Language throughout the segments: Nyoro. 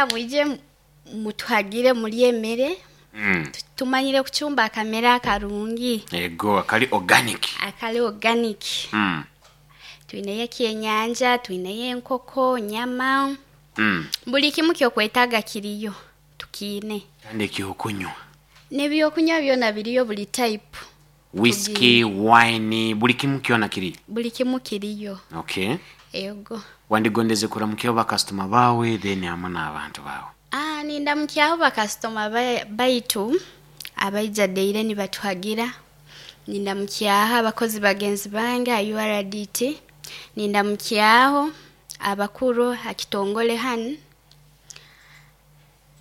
Mwije mutuhagire mulye emere. Tumanyire kucumba akamere akarungi. Ego akali organic. Akali organic. Twineyo ekyenyanja, twineyo enkoko, nyama. Buli kimu kyokwetaaga kiriyo, tukiine. Kandi ekyokunywa? N'ebyokunywa byona biriyo buli type. Whisky, wine, buli kimu kyona kiriyo? Buli kimu kiriyo. Okay. Ego. Wandigondeze kuramukyaho bakasitoma baawe then hamwe n'abantu baawe. Nindamukyaho bakasitoma baitu abaija daily nibatuhagira, nindamukyaho abakozi bagenzi bange aha URDT, nindamukyaho abakuru ha kitongole hanu,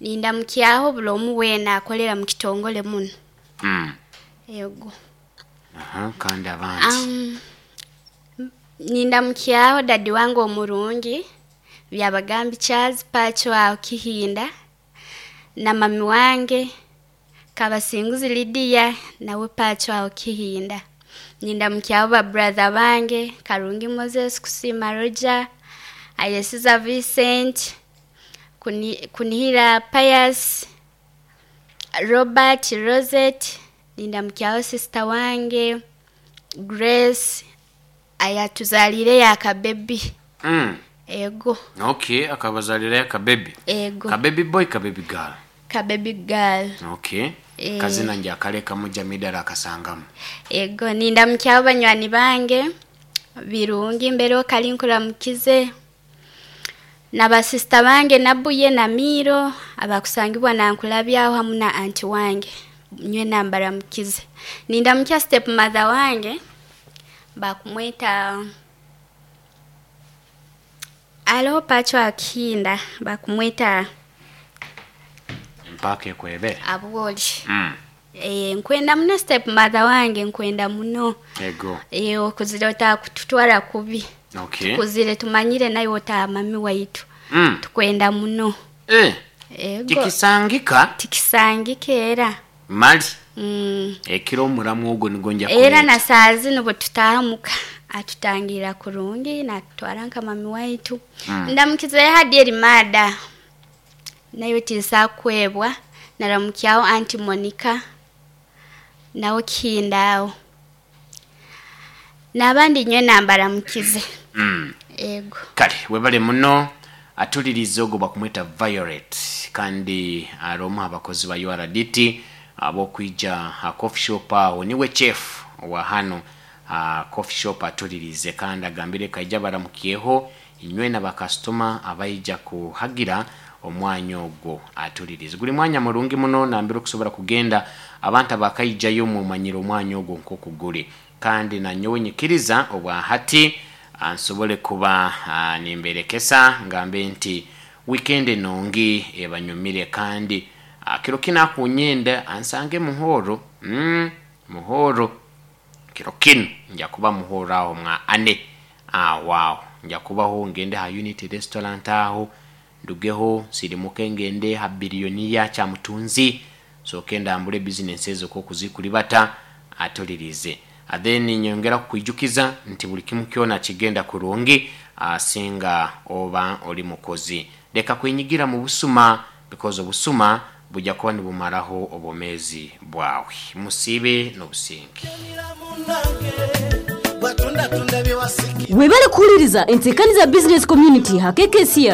nindamukyaho buli omu weena akolera mu kitongole munu. Ego. Aha, kandi abandi? Nindamukyaho dadi wange omurungi, Byabagambi Charles Pacho aho Kihinda, na mami wange Kabasinguzi Lydia nawe Pacho aho Kihinda. Nindamukyaho ba brother bange Karungi Moses, Kusiima Roger, Ayesiza Vincent, Kunihira Pius, Robert Rosette, nindamukyaho sister wange Grace ayatuzaliireyo akabebi. Ego. Okay, akabazalirayo akabebi? Ego. Kabebi boy, kabebi girl? Kabebi girl. Okay. Eh. Kazina nja akalekamu Jamidara akasangamu. Ego, nindamukyaho banywani bange Birungi mbere kali nkuramukize, na basisita bange Nabuye na Miiro abakusangibwa Nankulabye aho hamu na anti wange, nywena mbaramukize. Nindamukya step mother wange bakumweta aloho Pacho Akihinda bakumweta Mpaka ekwebere. Abwoli. Nkwenda muno step mother wange, nkwenda muno. Ego. Okuzire otakututwara kubi. Okay. Tukuzire tumanyire naiwe otaha mami waitu. Tukwenda muno. Ego. Tikisangika? Tikisangika era. Mali. Ekiro omuramu ogwo nigwo nja Era kureeta. na saaha zinu bwetutaaha muka atutangiira kurungi natutwara nka mami waitu. Ndamukizeyo hadi eri maada, naiwe tinsobola kukwebwa, naramukyaho anti Monica nawe Kihinda aho. N'abandi nywena mbaramukize. Ego. Kale webale muno. Atulirize ogwo bakumweta Violet kandi ari omu ha bakozi ba URDT ab'okwija ha coffee shop aho, niwe chef wa hano ha coffee shop. Atulirize kandi agambire kaija baramukyeho inywena bakasitoma abaija kuhagira omwanya ogwo. Atulirize guli mwanya murungi muno nambere okusobora kugenda abantu abakaijayo mumanyire omwanya ogwo nk'oku guli, kandi nanyowe nyikiriza obwa hati nsobole kuba nimberekesa ngambe nti weekend enungi ebanyumire, kandi kiro kinu akunyenda ansange muhoro. Muhoro kiro kinu nja kuba muhoro aho mwa ane aho aho nja kubaho, ngende ha Unity Restaurant aho, ndugeho nsirimuke ngende ha Billionaire Kyamutunzi, nsooke ndambule bizinesi ezo nk'okuzikuribata. Atulirize then nyongera kukwijukiza nti buli kimu kyona kigenda kurungi singa oba oli mukozi. Leka kwenyigira mu busuma, because obusuma bujja kuba nibumaraho obwomeezi bwawe. Musiibe n'obusinge. Webale kuhuliriza enteekaniza Business Community ha KKCR.